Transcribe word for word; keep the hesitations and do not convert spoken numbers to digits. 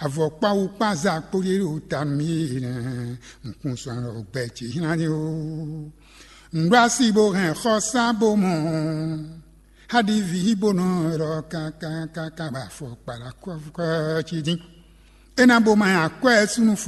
Avɔkpáwú kpáza kpódé ɖo ta nú mì nɛ́, nukún sɔn ɖɔ gbɛ ce hínlá ní ó. Nǔɖó así bó hɛn xɔsá bó mɔ, há ɖi vǐ bó nɔ ɖɔ kákákáká bá fɔ kpala kɔ́fukɔ́ cí dín. É ná bó ma nyi akwɛ́ súnnu fɔ.